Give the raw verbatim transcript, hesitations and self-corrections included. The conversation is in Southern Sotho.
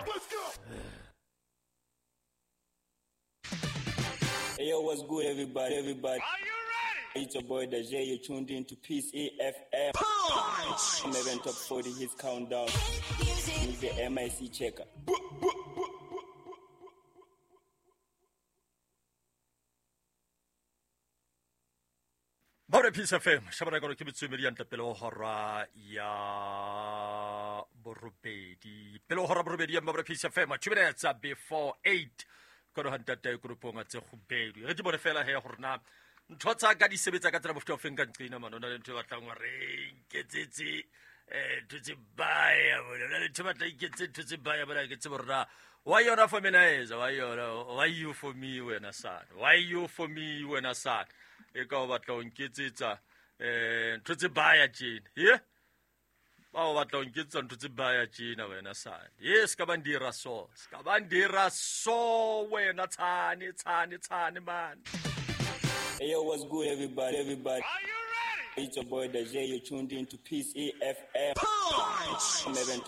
Let's go. Hey, yo, what's good, everybody? Everybody. Are you ready? It's your boy Dajay. You're tuned in to Peace E F M. Punch! I'm Top forty Hits Countdown. With the M I C Checker. Ba re Peace F M, shabana ka ke metswemedi ya ntla pele ho hora ya borobedi. Pele ho hora borobedi ya Mabra Peace F M, two minutes before eight. Ka ho ntate grupong tse kgubedu. Re di bone fela he hore na ntho tsa ka di sebetsa ka tsela mofuta o feng ka nqina man. Ona le ntho e batlang hore nketsetse eh ntho tse baya bona. Ona le ntho e batlang iketse ntho tse baya bona ke tsebe hore na why yona for me na eza, why yona, why you for me wena son, why you for me wena son. E ka o batla ho nketsetsa eh ntho tse baya tjena. Ye? Ba o batla ho nketsetsa ntho tse baya tjena wena son. Ye ska ba ndira so. Ska ba ndira so wena tshane tshane tshane man. Hey, yo, what's good, everybody? Everybody. Are you ready? It's your boy Dajay. You're tuned in to Peace E F M. Punch! I'm Top